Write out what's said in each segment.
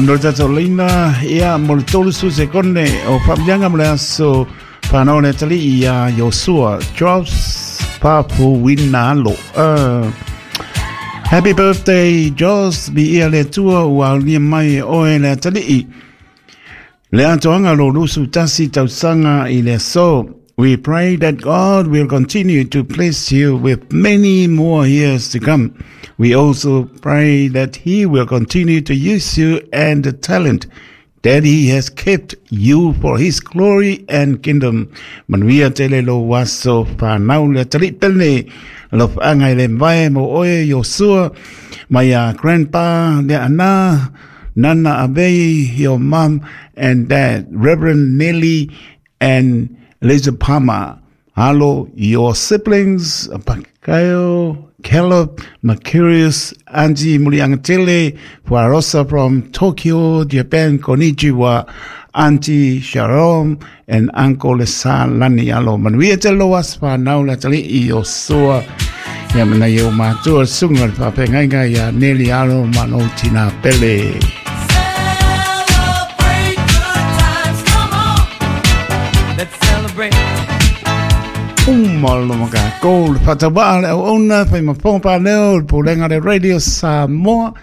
No le tatou laina, ia, mo le 30 sekone o faamiliaga mo le aso whanau le atalii ia Iosua Josh Papuina Alo. Happy birthday, Josh, bi ia le tua ua aulia mai e oe le atalii. Le atoaga lo 21 tausaga i le aso. We pray that God will continue to bless you with many more years to come. We also pray that He will continue to use you and the talent that He has kept you for His glory and kingdom. Manuia tele lo aso whanau le atalii pele alofaga i le mavae mo oe Iosua mai a grandpa le ana Nana Avei, your mom and dad, Reverend Nelly and Lisa Palmer. Alo, your siblings, Pakayo, Caleb, Mercurius, Angie Muliangatele, Fuarosa from Tokyo, Japan, konnichiwa, Auntie Sharon, and Uncle Lesa Lani. Alo, manuia te lo aso whanau le atalii Iosua. Ia mana i o mātua sunga le whapengaiga ia Nelly Alo ma lou tina pele. Celebrate good times, come on. Let's celebrate. Uma lo maka ko le whatawa le auauna whai maponga pa leo le pulega le Radio Samoa.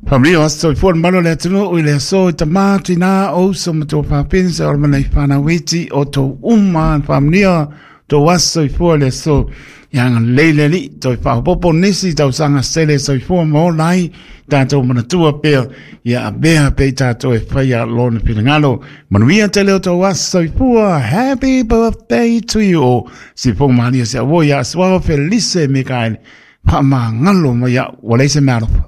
Whamrio aso i fuan malo le atunu i le aso i tamā tina o uso ma tō whapinsa o le mana i whanawiti o tō uma whamnia tō aso i fua le aso i anga leile li tō i whahopopo nisi tausaga sele soifua ma ola ai tātou manatua pea ia avea pea i tātou e whaia lona finagalo. Manuia tele o tō aso soifua. Happy birthday to you o Sifong Malia se avo ia Suao Felice Mikaele. Whaamangalo mai au, ua leai se mea alofa.